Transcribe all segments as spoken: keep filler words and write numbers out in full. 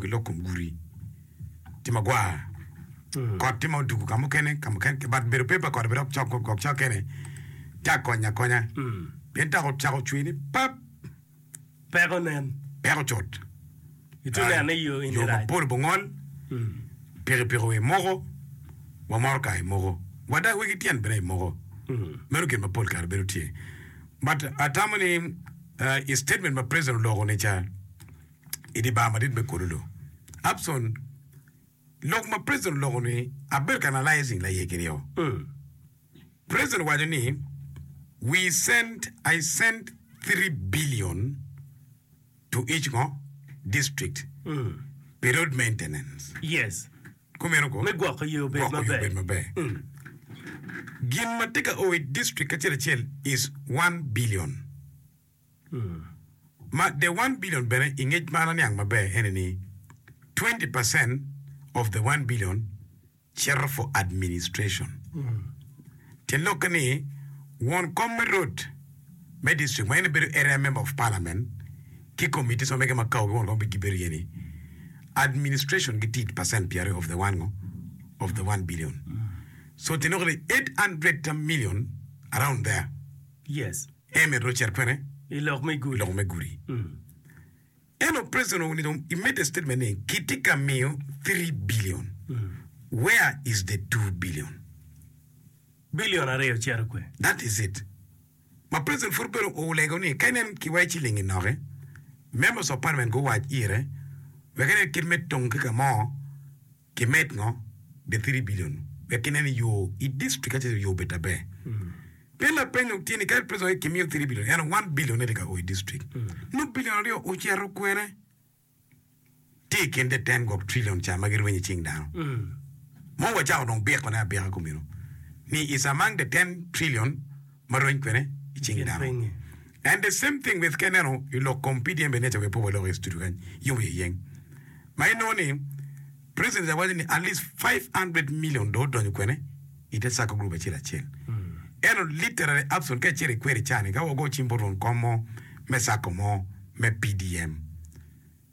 ki lok kom gudi tye magwar kot tye ma odugo ka mukene ka mukene but bedo pe pa kot bene dok cok gwok cok kene tye akonya akonya pien tak ocako cwer ni pap Peko nen. Peko cut. Itye neno ni yo eni Yo rac. mapol obongol, pikipiki wa imoko, wa motoka imoko, wa dok wegi tyen bene imoko. Meno gin ma pol kare bedo tye. But atamo ni i statement ma president oloko ni ca i dye bar madit me Kololo, Abson, lok ma president oloko ni abedo ka analyzing laiye kiryo. President owaco ni we sent, I sent three billion to each ngo district pi road maintenance. Yes. Kumeno ko? Me gwoko yo obed Gwoko yo maber. obed maber. Gin ma tye ka o i district acel acel is one billion. Ma the one billion bene i ngec ma an aniang maber ene ni twenty percent of the one billion cito for administration. Tyen lokke ni won kom me road me district ma en bedo area member of parliament ki committees ma mege ma kawo ki won kom gibedo iye ni administration gitye i percent pyeraryo of the one ngo of the one billion. So tyen lokke ni eight hundred million around there Yes. en myero ocit kwene I lok me i gudi. lok me gudi. Ento president owinyo dong i made a statement ni kitye ka miyo three billion where is the two billion? Billion aryo cito kwe. That is it. Ma president pud obedo olego ni ka inen kiwaco ciling enoki members of parliament guwac ire wek inen kit me tong ki ka mo Kimed ngo the three billion wek kinen yo i district acel yo obed aber. Pien lapeny dong tye ni kadi president aye kimiyo three billion ento one billion ne tye ka o i district nongo billion aryo ocito kwene? Tye i kin the ten gwok trillion ca ma girwenyo i cing dano. Mo wacako dong biko ne abika kumeno ni is among the ten trillion ma rweny kwene i cing dano. And the same thing with ka ineno i lok kom P D M bene ca wek pe walok i studio kany yom iye yeng ma inongo ni President ca waco ni at least five hundred million dong odonyo kwene i te sacco group acel acel. Ento literally Abson ka icito ikwede i cani ka wago cim bot won kom mo me sacco mo me P D M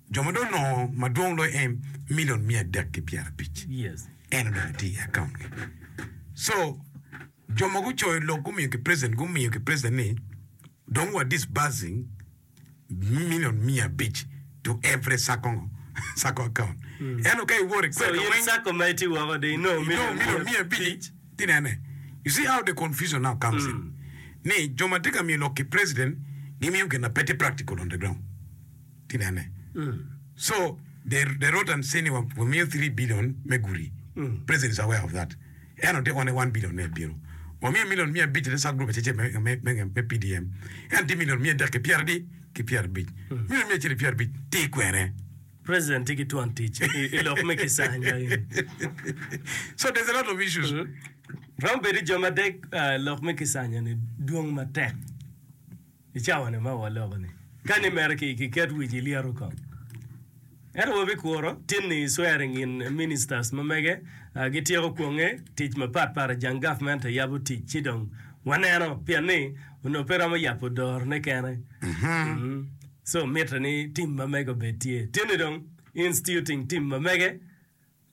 jo ma dong onongo madwong loyo en million miya adek ki pyerabic en odonyo tye i account gi. So jo ma gucoyo lok gumiyo ki president gumiyo ki president ni dong wa disbursing million miya abic to every sacco ngo sacco account ento ka iwoto So ikwed in weng sacco ma itye woko dong inongo inongo million million miya miya abic abic. ti nene you see how the confusion now comes in ni jo ma tye ka miyo lok ki president gimiyo gin ma pe tye practical on the ground ti nene so they, they wrote and say ni wamiyo three billion me gudi president is aware of that Ento tye one one billion me bino. Wamiyo million miya abic ite sub group acel acel me, me, me P D M. Ento tye million miya adek ki pyera adi? Ki pyera abic. Million miya acel ki pyera abic tye kwene? President tye ki twon tic i lok me kicanya eni. So there's a lot of issues. Romo bedo jo ma dek lok me kicanya ni dwong matek. I cawa-ni ma waloko-ni, ka ni mere kiket wic i lyeto kong. Ento wabikuro tin-ni swearing in ministers ma mege gityeko kwonge tic mapat pat i jang gavment yabo tic ci dong waneno pien ni onongo pe romo yabo dorone kene. So mitte ni tim ma mege obed tye. Tin-ni dong instituting tim ma mege.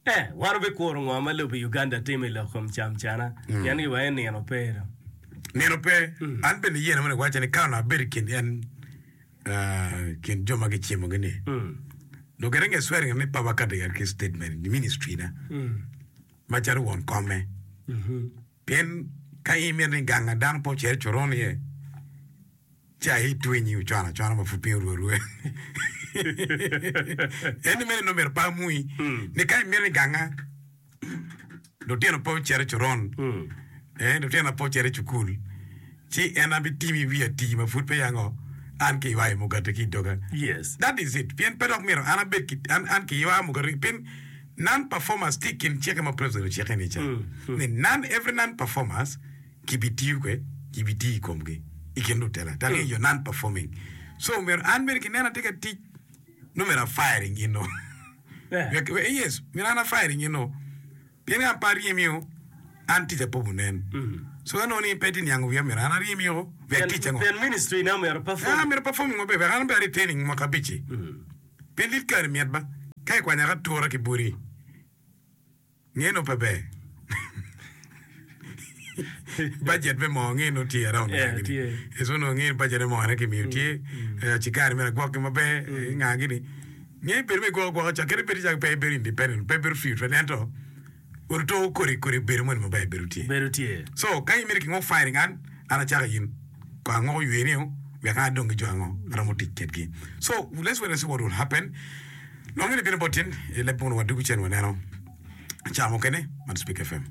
Eh, wan wabikuro ngo ma lobo Uganda timo i lok kom camcana, pien giwaco ni nino pe dong. Nino pe. An bene iyena mono iwacca ni ka onongo abedo i kin en i kin jo ma gicimogi ni, dong kede nge swearing ni pe abakati ki statement i ministry na macalo won komme. Pien ka in imito ni ganga dano pe ocit i coron iye, ci aye itwenyi ocwano acwana ma pud piny orwo arwa. En ni meno nongo myero pe amui ni ka imito ni ganga lutino pe ocit i coron, eh, lutina pe ocit i cukul, ci en abitimi wiya tii ma pud peya ngo an kiywayo mugati ki i doga. Yes. That is it. Pien pe dok myero an abed ki, an, an kiywa mugati pien non performers tye i kin cikke ma president ocikke ni ca. Ni non, every non performers kibitiyo kwe, kibitiyo i komgi i kin lutela. Tangi you're non performing. So myero an bene kinena atye ka tic, nongo myero a firing in o. Wek, wek, yes, myero an a firing in o. Pien ka an pe aryemio, an tica pe obunen. So ka nongo ni pe itye niango wiya myero an aryemio, wek ticca ngo? Pien ministry na myero perform. Ah, myero performing maber, wek an bene a retaining mwaka abic-ci. Pien dit kare mit ba. Ka ikwanyo ka tura ki buri, nge no pe ber. Budget me moo nge no tye around Yeah, nga gini. tye. So no nge budget me moo ne kimiyo tye, eh, cigari mere agwoki maber, eh, nga gini. Nge bedo me gwoko gwoko ca, kadi bed ca pe ibedo independent, pe ibedo free twel, ento oruto kodi kodi bedo moni maber bedo tye. Bedo tye. So ka in mito kingok firing an, an acako in. Ko angoko ywe ni o, wek an adong ki jo ango aromo tic kedgi. So let's wait and see what will happen. Nongo ni bino bot tin, i leb mono wadugu cen waneno ca mukene, man Speak F M.